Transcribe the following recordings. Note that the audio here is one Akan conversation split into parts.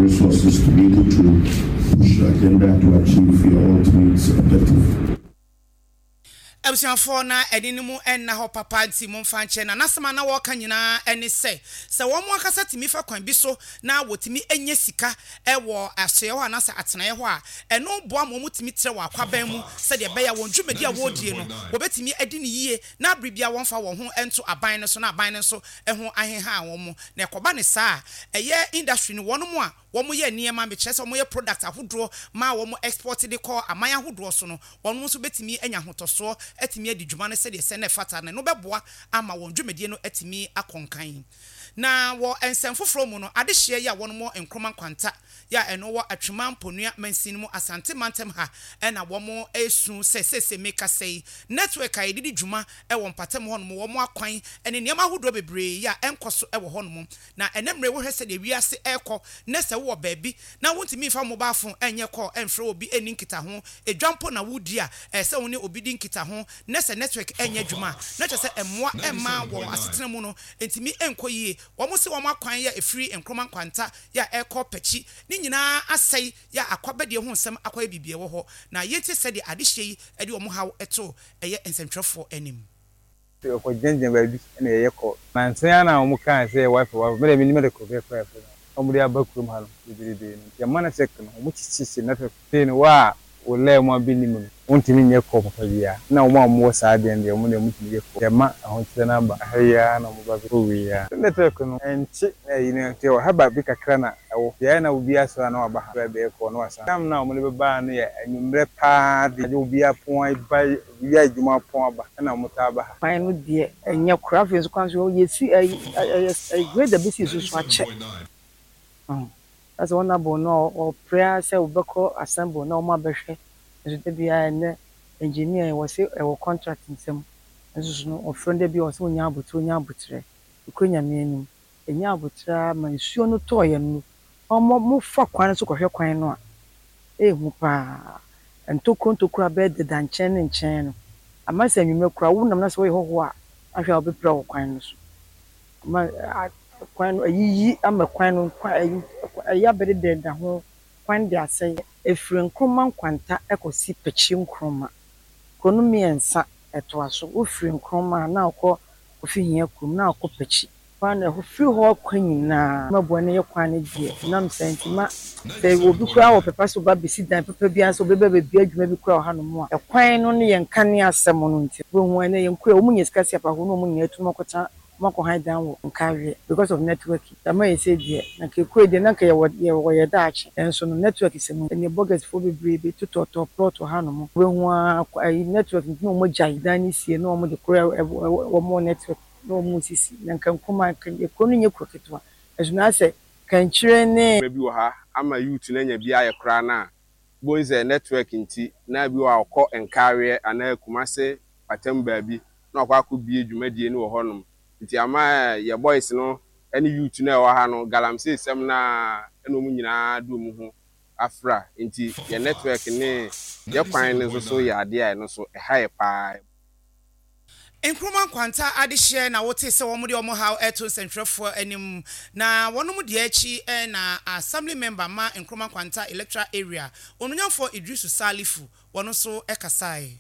Resources to be able to push your agenda to achieve your ultimate objective. Abusuafoɔ na ɛne no mu nna hɔ papa nti momfa nkyɛ na n'asɛm a na wɔreka nyinaa ne sɛ, sɛ wɔn ankasa tumi fa kwan bi so na wɔtumi nya sika wɔ asoɛeɛ hɔ anaasɛ atenaeɛ hɔ a, ɛno boa ma wɔtumi trɛ wɔn akwaban mu sɛdeɛ ɛbɛyɛ a wɔn dwumadi a wɔredie no wɔbɛtumi adi no yie na bere biara wɔmfa wɔn ho nto aban no so na aban no nso ho aheha wɔn. Na ɛkɔba no saa a, ɛyɛ industry no wɔnom a wɔyɛ nneɛma, mekyerɛ sɛ wɔyɛ product ahodoɔ ma wɔn export de kɔ aman ahodoɔ so no, wɔn nso bɛtumi anya ahotɔsoɔ atumi adi dwuma no sɛdeɛ ɛsɛ na ɛfata, na ɛno bɛboa ama wɔn dwumadie no atumi akɔ nkan. Na wɔ nsɛm foforɔ mu no, adehyeɛ yi a wɔnom wɔ Nkrumah Nkwanta yi a ɛno wɔ Atwima Mponua mansin mu Asante mantam ha na wɔn resu sɛ seesei mekasa yi network a yɛde di dwuma wɔ mpatam hɔnom, wɔn akwan ne nneɛma ahodoɔ bebree yi a ɛnkɔ so wɔ hɔnom. Na ɛnnɛ mmerɛ yi wohwɛ sɛdeɛ wiase rekɔ nnɛ sɛ wowɔ baabi na wontumi mfa wo mobile phone nyɛ call mfrɛ obi nni nkitaho, edwa mpo na woredi a ɛsɛ sɛ wo ne obi di nkitaho nnɛ sɛ network nyɛ adwuma a na kyerɛ sɛ mmoa mma wɔn asetena mu no ntumi nkɔ yie. Wɔn se wɔn akwan yɛ ɛfiri Nkrumah Nkwanta yɛ a ɛrekɔ Pakyi ne nyinaa asɛe yɛ a akwabadie ho nsɛm akɔyɛ biribi ɛwɔ hɔ na yɛntie sɛdeɛ adehyeɛ yi de wɔn haw to ɛyɛ nsɛntwerɛfoɔ anim. Sɛ yɛkɔ gyinagyina baabi na yɛyɛ kɔ. Nansa yi ara na wɔn kaa sɛ wifi wifi me deɛ mennim ade korɔ koraa yɛfrɛ no a wɔde aba kurom ha no bebrebe no nti ɛma network no wɔn kyekyekye network sei no wo a wo line mu abi nnim no wontumi nyɛ call papa biara ɛna wɔn a wɔwɔ saa adeɛ no deɛ wɔn deɛ wɔtumi yɛ call nti ɛma ahokyerɛ no aba ha yi ara na wɔba bɛkɔ wei ara. Network no ɛnkye na ɛyi no nti ɛwɔ ha baabi kakra na ɛwɔ nti ɛyɛ na obiara sɔre a na waba ha bɛyɛ call na wasan. Time no a wɔde bɛbaa no yɛ anwummerɛ paa de agye obiara pon aba Wia adwuma pɔn aba na wɔn taa ba ha. Kwan no deɛ ɛnyɛ koraa afei nso kwan so yɛsi ɛyi ɛyɛ grader bi si so so akyɛ ɔho asɛ wɔn abɔ no ɔpere ara sɛ wɔbɛkɔ assemble na wɔn abɛhwɛ nso da biara ɛnɛ engineer wɔsi ɛwɔ contract nsam nso so no ɔfrɛ no da biara ɔsɛ onya abotrɛ onya abotrɛ ekɔ nyame anim enya abotrɛ ara ma nsuo no tɔɔ yɛn no wɔn mo fa kwan no so kɔhwɛ kwan no a Ɛyɛ hu paa. Ntokuro ntokuro a bɛdeda nkyɛn ne nkyɛn no, ama sɛ anwummerɛ koraa wonam na sɛ woyɛ hɔhoɔ a, ahwɛ a wobɛpira wɔ kwan no so. Ama kwan no ayiyi ama kwan no ayi abɛdedada ho, kwan no de asɛe. Ɛfiri Nkrumah Nkwanta kɔsi Pakyi Nkrumah. Kuro no mmiɛnsa ɛtoa so. Wofiri Nkrumah a na wokɔ Kofi Hia kurom na wokɔ Pakyi. Kwan no ɛhɔ firi hɔ kɔ nyinaa ma boa no yɛ kwan no deɛ ɛnam saa nti ma sɛ obi koraa wɔ pɛpa sɛ ɔba bɛsi dan papa bi ansa obi ba bɛbue adwuma bi koraa wɔ hanom a ɛkwan no ne yɛn nkanea asɛm no nti wobɛhu ɛnɛ yɛn kuro a wɔn nya sika si apaho na wɔn nyinaa atum akɔtena wɔn akɔ han dan wɔ Nkareɛ because of network ama yɛ sɛ deɛ na nka ekuro deɛ na nka yɛwɔ yɛwɔ yɛ daakye nanso no network sɛ mu ɛnɛ bɔgɛs foɔ bebree bɛ totɔtɔ plot wɔ hanom wobɛhu ara ayi network nti na wɔn agyae dan no sie na wɔn de koro ɛwɔ wɔn network na wɔn sisi, na nka nkumaa, nka kuro no nyɛ kuro ketewa, nso na asɛ kankyire ne. Bi wɔ ha ama youth no anya bi ayɛ koraa no a, wobɛhu sɛ network nti na bi wɔ hɔ a ɔkɔ Nkareɛ anaa Kumase mpatam baabi na wakɔ akɔbue dwumadie no wɔ hɔnom. Nti ama yɛ boys no ne youth no a ɛwɔ ha no galamsey sɛm no ara na wɔn nyinaa de wɔn ho afra. Nti yɛ network ne yɛ kwan no nso so yɛ adeɛ a ɛno nso ɛha yɛ pa ara. Nkrumah Nkwanta adehyeɛ na wotee sɛ wɔn de wɔn haw reto nsɛntwerɛfoɔ anim. Na wɔnom deɛ akyi na Assembly Member ma Nkrumah Nkwanta Electoral Area, Onuonyamfoɔ Iddrisu Salifu, wɔn nso kasaeɛ.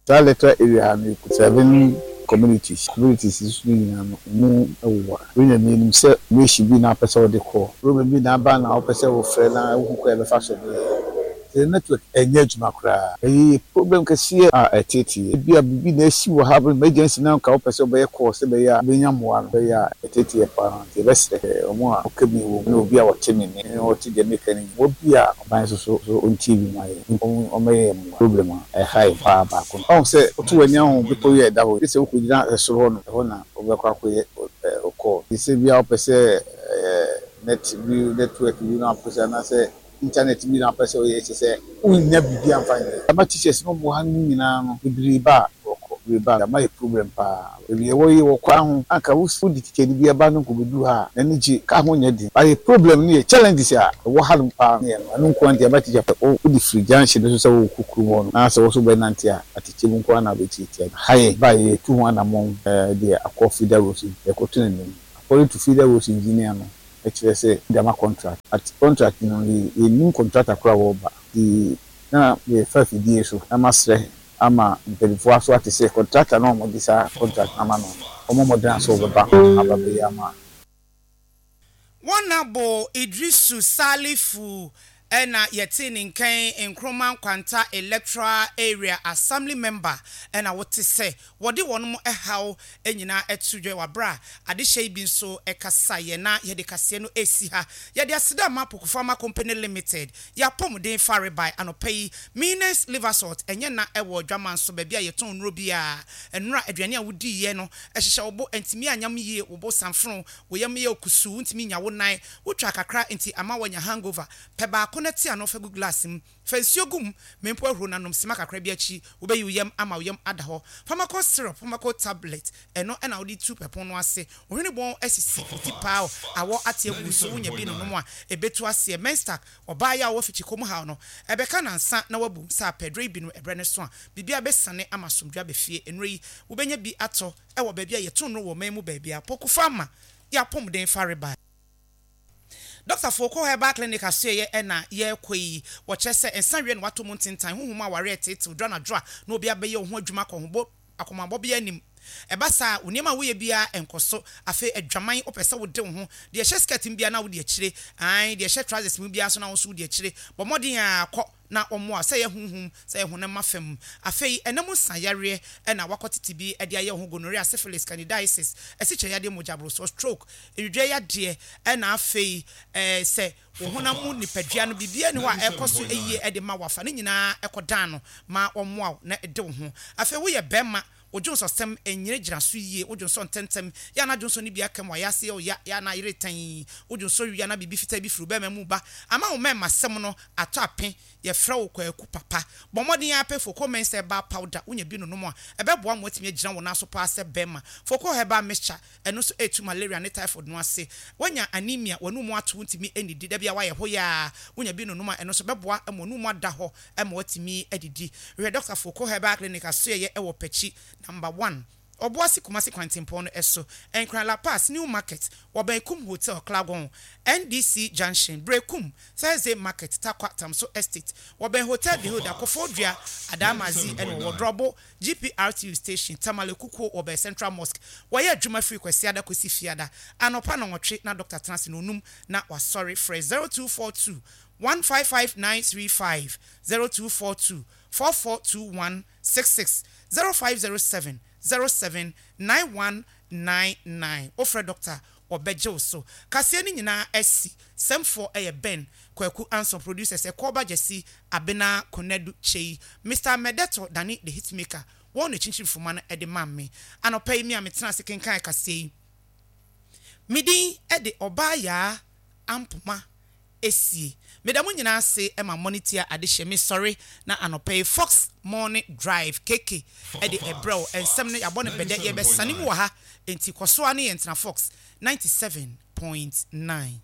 Saa electoral area ha no yɛkura seven communities, communities yi so no nyinaa no emu woware. Wei na menim sɛ mission bi na wopɛ sɛ wode kɔ, problem bi na aba na wopɛ sɛ wofrɛ na wohu kwan a ɛbɛfa so de Sɛ network ɛnyɛ adwuma koraa. Ɛyɛ problem kɛseɛ a ɛteetee yɛn. Ebia biribi na asi wɔ ha, emergency na anka wopɛ sɛ wobɛyɛ call sɛ ɛbɛyɛ a wobɛnya mmoa no, ɛbɛyɛ a ɛteetee yɛn paa. Nti yɛbɛsrɛ wɔn a wɔka bi wɔ mu ne obi a ɔte me nne ne ɔte deɛ meka no nyinaa, mmoa bi a ɔban nso so so ɔntie bi mma yɛn, ɔmmɛyɛ yɛn mmoa. Problem a ɛha yɛn paa baako no. Wahu sɛ woto w'ani ahu bepɔ yi a ɛda hɔ yi, gye sɛ wokɔgyina soro hɔ nom, ɛhɔ na wobɛkɔ akɔyɛ wo call. Gye sɛ ebia wopɛ sɛ net bi, network bi na wopɛ sɛ anaasɛ Internet bi na wopɛ sɛ woyɛ kyerɛ sɛ wonnya biribi amfa nyɛ. Ama teachers no wɔwɔ ha no nyinaa no bebree ba a wɔkɔ bebree ba a ama yɛ problem paa. Baabi a yɛwɔ yi wɔ kwan ho anka wode teacher ni bi aba no nkobedu ha a n'ani gye car ho nyɛ den but yɛ problem no yɛ challenges a ɛwɔ hanom paa no yɛ no ɛno nko ara nti ama teacher pɛ wode firi junction no so sɛ worekɔ kurom hɔ no na sɛ wo nso wobɛnante a atɛkyɛ mu nko ara na wobɛtiatia ha yɛ ba a yɛtu ho anamɔn de akɔ feeder roads yɛkɔto no anim according to feeder roads engineer no. kyerɛ sɛ wɔde ama contract but contract no yɛnnim contractor korɔ a wɔreba nti na merefa afidie so na masrɛ ama mpanimfoɔ aso ate sɛ contractor no a wɔde saa contract no ama no no wɔmmɔ mmɔden ara sɛ wɔbɛba aba abɛyɛ ama. Wɔnabo Iddrisu Salifu na yɛtee ne nka yi, Nkrumah Nkwanta Electoral Area Assembly Member na wote sɛ wɔde wɔn haw nyinaa to dwa wɔ aberɛ a adehyɛ yi bi nso kasaeɛ na yɛde kaseɛ no resi ha. Yɛde aseda ma Pokufama Company Limited, yɛn apɔmuden farebae anɔpa yi, Mines Liver Salt, ɛnyɛ na ɛwɔ Adwaman so baabi a yɛtɔn nnuro biara, nnora aduane a wodiiɛ no hyehyɛ wo bo, ɛntumi anyam yie, wo bo sanfono, Wo yam yɛ wo kusuu, wontumi nnya wo nan, wotwa kakra nti ama woanya hangover. Pɛ baako na te ano fa gu glass mu. Fa nsuo gu mu, ma mpo ahuro na nom sima kakra bi akyi, wobɛyi wo yam ama wo yam ada hɔ. Pharmacol syrup, Pharmacol tablet, ɛno na wode tu pɛpon no ase. Wo hwene bɔn asisi, wo ti paaw, awɔ ate agu wo so, wonya bi nonom a, ɛbɛtu aseɛ. Menstac, ɔbaa yi a ɔwɔ fikyikɔ mu haw no, ɛbɛka nansa na wabu sɛ apɛ aduro yi bi nom ɛberɛ no so a, biribiara bɛsane ama asomdwoeɛ aba fie. Nnuro yi, wobɛnya bi atɔ wɔ baabi a yɛto nnuro wɔ ɔman mu baabiara. Pokufa ma yɛ apɔmuden farebae. Dɔktafoɔ kɔ herbal clinic asoɛeɛ na yɛrekɔ yi, wɔkyerɛ sɛ nsa weɛ na watɔ mu ntentan, honhom mu awareɛ reteetew, duru anadwo a na obi abɛyɛ wo ho adwuma akɔhobɔ akɔmabɔ biara nnim. Ɛba saa a, wo nneɛma a woyɛ biara nkɔ so. Afei adwaman, wopɛ sɛ wode wo ho, deɛ ɛhyɛ skirt mu biara na wode akyire, aane, deɛ ɛhyɛ trousers mu biara nso na wo nso wode akyire. Bɔ mmɔden ara kɔ na wɔmmoa wo, sɛ ɛyɛ honhom, sɛ ɛyɛ honam afam. Afei, ɛna mu nsa yareɛ na woakɔtete bi de ayɛ wo ho, gonorrhea, syphilis, candidiasis, asikyire yadeɛ, mogyaborosoɔ, stroke, nwidwoɛ yadeɛ, ɛna afei sɛ wo honam mu nipadua no biribiara nni hɔ a ɛrekɔ so yie de ma wo a, fa ne nyinaa kɔdan no ma wɔmmoa wo na de wo ho. Afei woyɛ barima, wo dwonsɔsɛm nnyinagyina so yie, wo dwonsɔ ntɛmntɛm, yɛ a na dwonsɔ no bi aka mu, ayɛ ase yɛ wo ya, yɛ a na ayere tann, wo dwonsɔ wie a na biribi fitaa bi firi wo barima mu reba, ama wo mmarimasɛm no atɔ ape, yɛfrɛ wo Kwaku Papa. Bɔ mmɔden ara pɛ Foko Mensah Herbal Powder, wonya bi nonom a, ɛbɛboa ma woatumi agyina wo nan so paa sɛ barima. Foko Herbal Mixture, ɛno nso ɛretu malaria ne typhoid no ase. Woanya anemia, w'anum ato, wontumi nnidi, da biara woayɛ hoyaa, wonya bi nonom a, ɛno nso ɛbɛboa ma w'anum ada hɔ ma woatumi adidi. Hwehwɛ Dɔkta Foko Herbal Clinic asoɛeɛ wɔ Pakyi, Number One. Ɔboase Kumasi kwantempɔn no so, Nkran La Paz, New Market, wɔbɛn Kum Hotel, Klagon, NDC Junction, Berekum, Thursday Market, Tarkwa, Tamso Estate, wɔbɛn Hotel Beholder, Koforidua, Adamazi ɛna wɔwɔ Drɔbo, GPRTU Station, Tamale Kukuo, wɔbɛn Central Mosque. Wɔyɛ adwuma firi Kwasiada kɔsi Fiada, anɔpa nnɔnwɔtwe na dɔkta tena ase nnɔnum na wasɔre. Frɛ 0242 155 935, 0242 4421 66 0507 07 9199 Wofrɛ dɔkta a, ɔbɛgye wo so. Kaseɛ no nyinaa asi. Sɛmfoɔ yɛ Ben Kwaku Anson, Producers, Ɛkɔɔba Gyasi, Abena Konadu Kyei, Mister Mɛdɛtɔ Dane The Hitmaker, wɔn na ɛkyinkyim foma no de ma me. Anɔpa yi me a metena ase kenkan kaseɛ yi, me din de Ɔbaa Yaa Ampoma esie. Meda mo nyinaa ase ma mɔne tia adehyɛ. Me sɔre na anɔpa yi Fox morning drive KK de ɛbrɛ wo. Nsɛm no yɛabɔ no bɛdɛ yɛbɛsane mu wɔ ha enti kɔ so ara ne yɛn tena Fox 97.9.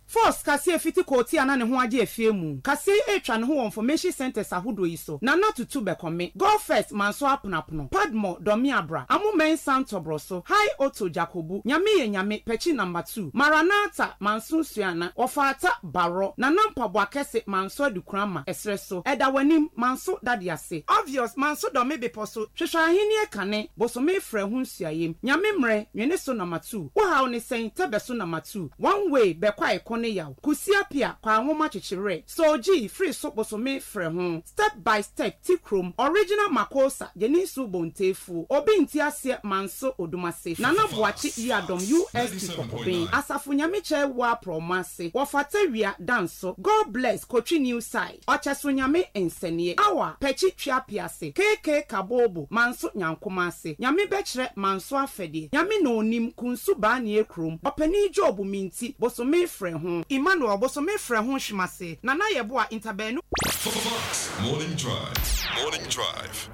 Fox kaseɛ fiti kootia na ne ho agye afie mu. Kaseɛ yi retwa ne ho wɔ nfɔmehyin sɛntɛs ahodoɔ yi so, Nana Tutu Bɛkɔme, Go First Manso Aponapono, Padmore Dɔmeabra, Amo Mensah Ntɔbrɔso, High Otto Djakobu, Nyame yɛ Nyame, Pɛkyi Number Two, Maranatha, Manso Suana, Wɔfaata, Barɔ, Nana Mpaboa Kɛse, Manso Adukurama, Ɛserɛ so, Ɛda W'anim, Manso Dade Ase, Obvious, Manso Dɔme Bepɔ so, Hwehwɛ Ahennie Kane, Bosome Frɛ Ho Nsuayem, Nyame Mmerɛ, Nwene So Number 2, Wo Haw Ne Sɛn, Tɛbɛ So Number 2, One Way, Bɛkɔ Aeko Ne Yaw, Kusi Apia, Kwaa Nwoma Kyekye Werɛ, Soojii, Firi So Bosome Frɛ Ho. Step by step ti krom original makosa gyeninsu bontefuo obi nti aseɛ manso odumase nana boakye yiadom ust kɔkɔben asafo nyame kyɛɛ woa prɔmo ase wɔfata wia danso God bless kotwi new side ɔkyɛso nyame nsɛneɛ awa pɛkyi twia piase KK kabobo manso nyankoma ase nyame bɛkyerɛ manso afɛdeɛ nyame na onim kunsu baanie krom ɔpanin job minti bosome frɛ ho Emmanuel bosome frɛ ho hwemase Nana Yeboah Ntabaanu. Fox Morning Drive. Morning Drive.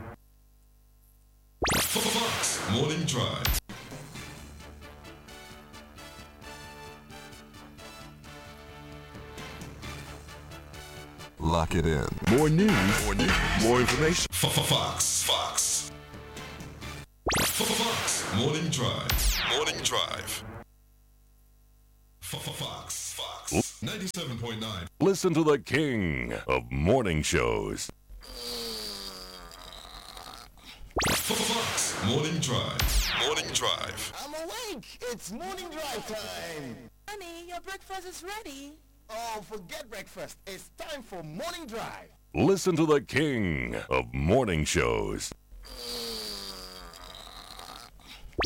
Fox Morning Drive. Lock it in. More news, more news, more information. Fox. Fox. Fox Morning Drive. Morning Drive. Fox. 97.9. Listen to the king of morning shows. Fox Morning Drive. Morning Drive. I'm awake. It's morning drive time. Honey, your breakfast is ready. Oh, forget breakfast. It's time for morning drive. Listen to the king of morning shows.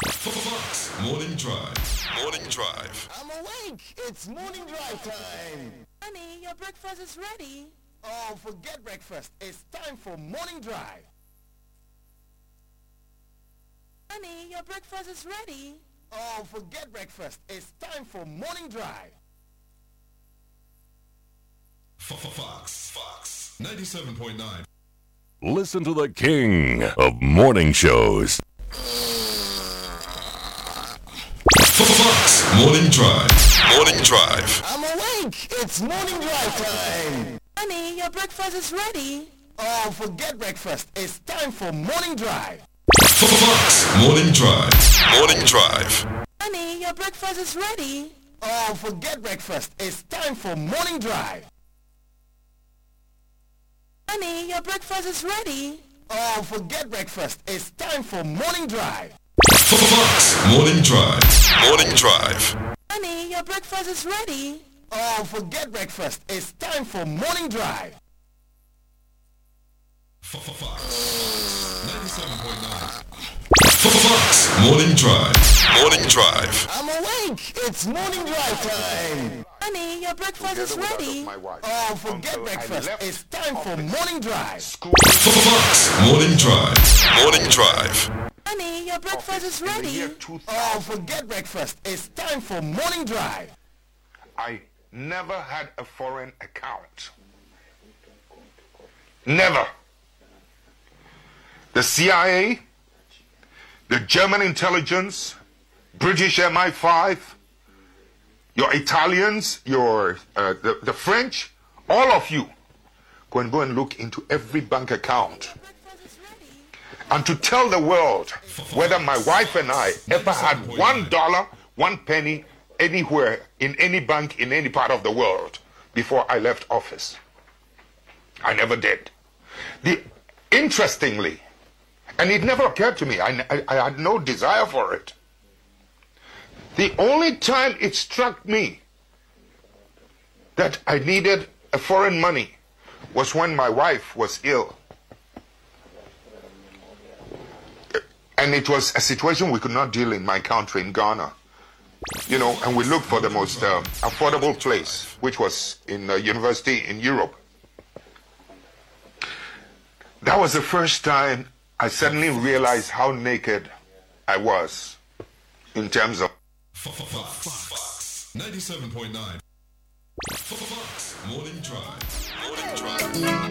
Fox Morning Drive. Morning Drive. I'm awake. It's morning drive time. Honey, your breakfast is ready. Oh, forget breakfast. It's time for morning drive. Honey, your breakfast is ready. Oh, forget breakfast. It's time for morning drive. Fox. Fox 97.9. Listen to the king of morning shows. Fox Morning Drive. Morning Drive. I'm awake. It's morning drive time. Honey, your breakfast is ready. Oh, forget breakfast. It's time for morning drive. Fox Morning Drive. Morning Drive. Honey, your breakfast is ready. Oh, forget breakfast. It's time for morning drive. Honey, your breakfast is ready. Oh, forget breakfast. It's time for morning drive. Fox Morning Drive. Morning Drive. Honey, your breakfast is ready. Oh, forget breakfast. It's time for morning drive. Fox 97.9. Fox Morning Drive. Morning Drive. I'm awake. It's morning drive time. Honey, your breakfast is ready. Oh, forget breakfast. It's time for morning drive. Fox Morning Drive. Morning Drive. Honey, your breakfast is ready. Oh, forget breakfast. It's time for morning drive. I never had a foreign account. Never. The CIA, the German intelligence, British MI5, your Italians, your the, the French, all of you, go and go and look into every bank account and to tell the world whether my wife and I ever had $1, one penny anywhere in any bank in any part of the world before I left office. I never did. The, interestingly, and it never occurred to me, I, I, I had no desire for it. The only time it struck me that I needed a foreign money was when my wife was ill. And it was a situation we could not deal in my country, in Ghana. You know, and we looked for the most affordable place, which was in a university in Europe. That was the first time I suddenly realized how naked I was in terms of. Fox 97.9. Fox Morning Drive. Morning Drive.